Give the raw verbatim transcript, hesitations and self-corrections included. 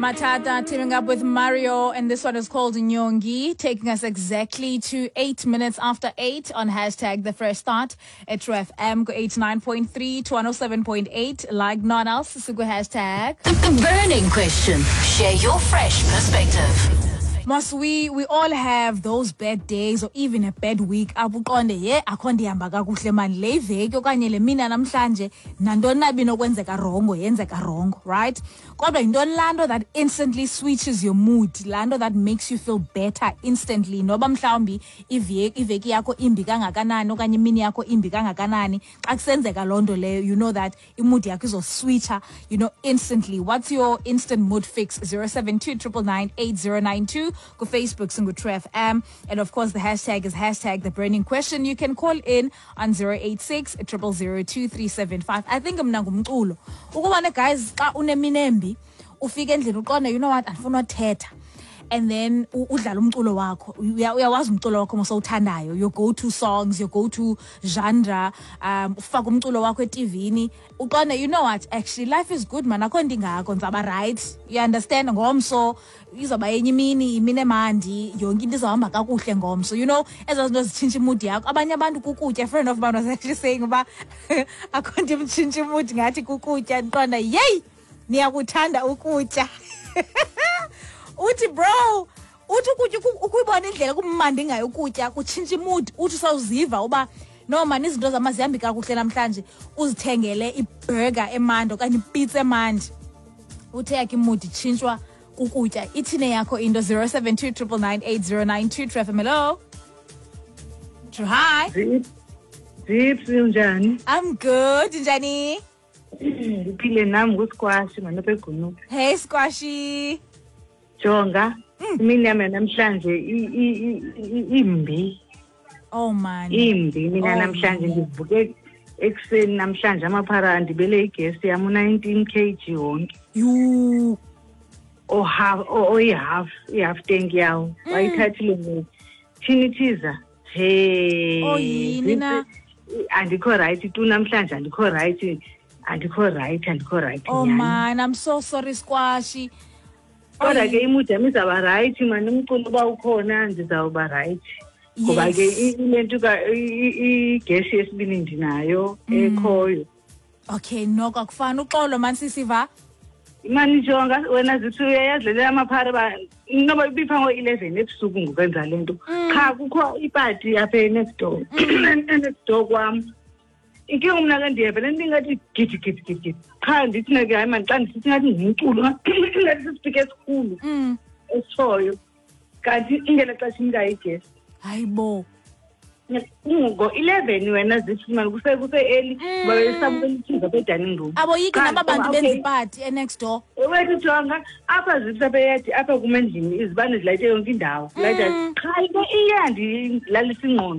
Matata teaming up with Mario, and this one is called Nyongi, taking us exactly to eight minutes after eight on hashtag the fresh start at True F M, go eighty-nine point three to one oh seven point eight, like none else. Siku hashtag. The burning question. Share your fresh perspective. Must we we all have those bad days or even a bad week apho uqonde, ye, akho ndihamba kakuhle mani le iveki okanye le mina namhlanje, nantoni na ibinokwenzeka wrongo yenzeka wrongo, right? Kodwa yintoni laa nto that instantly switches your mood, laa nto that makes you feel better instantly, noba mhlawumbi iveki iveki yakho imbi kangakanani okanye imini yakho imbi kangakanani, xa kusenzeka loo nto leyo, you know that imood yakho izoswitcha you know instantly? What's your instant mood fix? zero seven two nine nine nine eight zero nine two. Ku Facebook singu F M, and of course the hashtag is hashtag the burning question. You can call in on zero eight six zero zero zero two three seven five. I think mna ngumculo. Ukuba ne, guys, xa unemini embi, ufika endlini uqonde, "You know what, andifuna uthetha," and then u- udlala umculo wakho. Uya- uyawazi umculo wakho mosowuthandayo, your go to songs, your go to genre, um ufake umculo wakho etivini, uqonde, "You know what, actually life is good man, akho nto ingako, ndizawuba right." You understand? Ngomso izawuba yenye imini, imini emandi, yonke into izawuhamba kakuhle ngomso. you know ezaa zinto zitshintsha imood yakho. Abanye abantu kukutya. A friend of mine was actually saying uba akho nto imtshintsha imood ngathi kukutya. Ndiqonda, "Yeyi, niyakuthanda ukutya." Uthi, "Bro," uthi, "ukutya, uku- ukuyibona indlela kumandi ngayo ukutya kutshintsha imood." Uthi usawuziva uba no mani, izinto zam azihambi kakuhle namhlanje, uzithengele iburger emandi okanye ipizza emandi. Uthe yakhe imood itshintshwa kukutya. Ithini yakho into? zero seven two nine nine nine eight zero nine two. True F M, hello. True, hi. Zip, Zips, unjani? I'm good, njani? Ndiphile nam, ngusquash manapha eGunupe. Hey, Squashy. Jonga, imini yam yanamhlanje i- i- i- i- imbi. Oh man. Imbi mina Oh, namhlanje. man. Ndivuke ekuseni namhlanje, amaphara andibele igesi yam u-nineteen kg wonke. You. Ohalf, oyi-half, i-half tank yawo bayithathile ngoku. Thini thiza he. Oh, yini na? Andikho right tu namhlanje, andikho right, andikho right, andikho right Oh nyhani. man, I'm so sorry, Squashy. Kodwa ke imood yam izawuba right mani, umculo uba ukhona ndizawuba right, ngoba ke Yes. i- ile nto ka- i- i- igesi yesibini ndinayo ekhoyo. Okay, noko akufani. Uxolo man, sisiva. Mani jonga wena zithi, uyayazi le amaphara ba noba ibipha ngo-eleven ebusuku ngokwenza le nto. Qha kukho ipati apha e-next door, e-next door kwam. Inkinga mna ke ndiyeva le nto ingathi gidi gidi gidi gidi, qha ndithi na ke hayi mani, xa ndisithi ngathi ngumculo, ingathi sisipika esikhulu Mm. esitshoyo, kanti ingela xesha imkayo igesi. Hayibo. Ngo-eleven wena zithi mani, kuse kuse-early ngoba besabukela ithivi apha edining room. Aboyiki Qha naba bantu okay. benza ipati e-next door? Wethu jonga, apha zithi apha eyadi apha kum endlini izibane zilayite yonke indawo, layita, qha into iyandilalisa ingqondo.